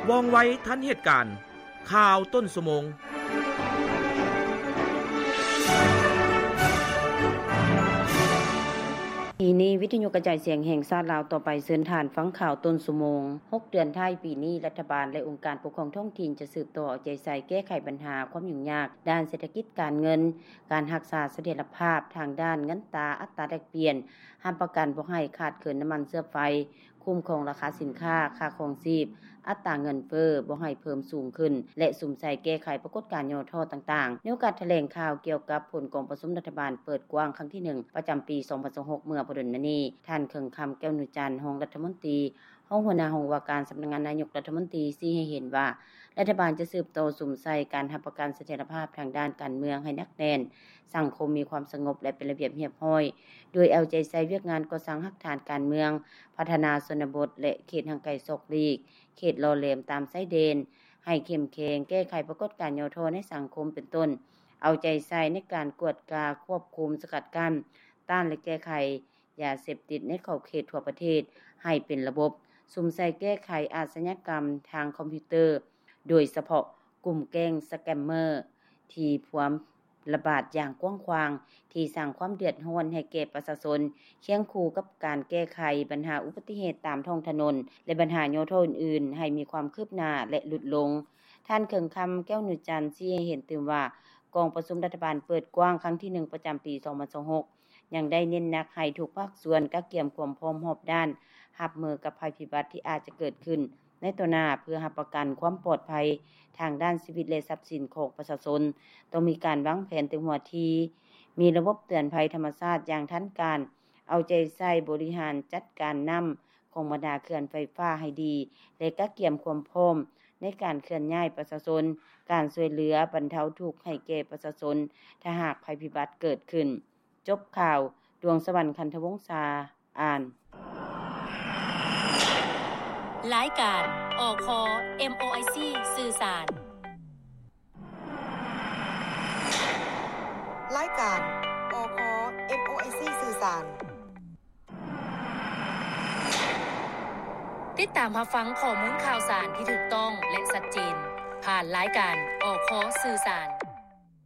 ວ່ອງໄວທັນເຫດການ. ຂ່າວຕົ້ນຊົ່ວໂມງ. ທີ່ນີ້ ວິທະຍຸກະຈາຍສຽງແຫ່ງຊາດລາວ ຕໍ່ໄປເຊີນທ່ານຟັງຂ່າວຕົ້ນຊົ່ວໂມງ. ຫົກເດືອນທ້າຍປີນີ້, ລັດຖະບານ ແລະ ອົງການປົກຄອງທ້ອງຖິ່ນ ຈະສືບຕໍ່ເອົາໃຈໃສ່ແກ້ໄຂບັນຫາຄວາມຫຍຸ້ງຍາກດ້ານເສດຖະກິດການເງິນ, ການຮັກສາສະຖຽນລະພາບທາງດ້ານເງິນຕາ, ອັດຕາແລກປ່ຽນ, ຮັບປະກັນບໍ່ໃຫ້ຂາດເຂີນນ້ຳມັນເຊື້ອໄຟ, ຄຸ້ມຄອງລາຄາສິນຄ້າ, ຄ່າຄອງຊີບ, ອັດຕາເງິນເຟີ້ບໍ່ໃຫ້ເພີ່ມສູງຂຶ້ນ ແລະ ສຸມໃສ່ແກ້ໄຂປາກົດການຫຍໍ້ທໍ້ຕ່າງໆ. ໃນໂອກາດຖະແຫຼງຂ່າວກ່ຽວກັບຜົນກອງປະຊຸມລັດຖະບານເປີດກວ້າງຄັ້ງທີໜຶ່ງ ປະຈຳປີສອງພັນຊາວຫົກ ເມື່ອບໍ່ດົນມານີ້, ທ່ານ ເຄິ່ງຄຳ ແກ້ວນຸຈັນ ຮອງລັດຖະມົນຕີ, ຮອງຫົວໜ້າຫ້ອງວ່າການສຳນັກງານນາຍົກລັດຖະມົນຕີ ຊີ້ໃຫ້ເຫັນວ່າ ລັດຖະບານຈະສືບຕໍ່ສຸມໃສ່ການຮັບປະກັນສະຖຽນລະພາບທາງດ້ານການເມືອງໃຫ້ໜັກແໜ້ນ, ສັງຄົມມີຄວາມສະຫງົບ ແລະ ເປັນລະບຽບຮຽບຮ້ອຍ, ໂດຍເອົາໃຈໃສ່ວຽກງານກໍ່ສ້າງຮາກຖານການເມືອງ, ພັດທະນາຊົນນະບົດ ແລະ ເຂດຫ່າງໄກສອກຫຼີກ, ເຂດຫຼໍ່ແຫຼມຕາມຊາຍແດນ ໃຫ້ເຂັ້ມແຂງ, ແກ້ໄຂປາກົດການຫຍໍ້ທໍ້ໃນສັງຄົມ ເປັນຕົ້ນ ເອົາໃຈໃສ່ໃນການກວດກາ, ຄວບຄຸມ, ສະກັດກັ້ນ, ຕ້ານ ແລະ ແກ້ໄຂ ຢາເສບຕິດໃນຂອບເຂດທົ່ວປະເທດໃຫ້ເປັນລະບົບ, ສຸມໃສ່ແກ້ໄຂອາຊະຍາກຳທາງຄອມພິວເຕີ, ໂດຍສະເພາະກຸ່ມແກ້ງສະແກມເມີ ທີ່ພວມລະບາດຢ່າງກວ້າງຂວາງ, ທີ່ສ້າງຄວາມເດືອດຮ້ອນໃຫ້ແກ່ປະຊາຊົນ, ຄຽງຄູ່ກັບການແກ້ໄຂບັນຫາອຸບັດຕິເຫດຕາມທ້ອງຖະໜົນ ແລະ ບັນຫາຫຍໍ້ທໍ້ອື່ນໆ ໃຫ້ມີຄວາມຄືບໜ້າ ແລະ ຫຼຸດລົງ. ທ່ານ ເຄິ່ງຄຳ ແກ້ວນຸຈັນ ຊີ້ໃຫ້ເຫັນຕື່ມວ່າ ກອງປະຊຸມລັດຖະບານເປີດກວ້າງຄັ້ງທີໜຶ່ງ ປະຈຳປີສອງພັນຊາວຫົກ ຍັງໄດ້ເນັ້ນໜັກໃຫ້ທຸກພາກສ່ວນກະກຽມຄວາມພ້ອມຮອບດ້ານ ຮັບມືກັບໄພພິບັດທີ່ອາດຈະເກີດຂຶ້ນໃນຕໍ່ໜ້າ ເພື່ອຮັບປະກັນຄວາມປອດໄພທາງດ້ານຊີວິດ ແລະ ຊັບສິນຂອງປະຊາຊົນ. ຕ້ອງມີການວາງແຜນແຕ່ຫົວທີ, ມີລະບົບເຕືອນໄພທຳມະຊາດຢ່າງທັນການ, ເອົາໃຈໃສ່ບໍລິຫານຈັດການນ້ຳຂອງບັນດາເຂື່ອນໄຟຟ້າໃຫ້ດີ ແລະ ກະກຽມຄວາມພ້ອມໃນການເຄື່ອນຍ້າຍປະຊາຊົນ, ການຊ່ວຍເຫຼືອບັນເທົາທຸກໃຫ້ແກ່ປະຊາຊົນ ຖ້າຫາກໄພພິບັດເກີດຂຶ້ນ. ຈົບຂ່າວ, ດວງສະຫວັນ ຄັນທະວົງສາ ອ່ານ. ລາຍການ ອຄ ເອັມໂອໄອຊີ ສື່ສານ. ລາຍການ ອຄ ເອັມໂອໄອຊີ ສື່ສານ. ຕິດຕາມຮັບຟັງຂໍ້ມູນຂ່າວສານທີ່ຖືກຕ້ອງ ແລະ ຊັດເຈນ ຜ່ານລາຍການ ອຄ ສື່ສານ.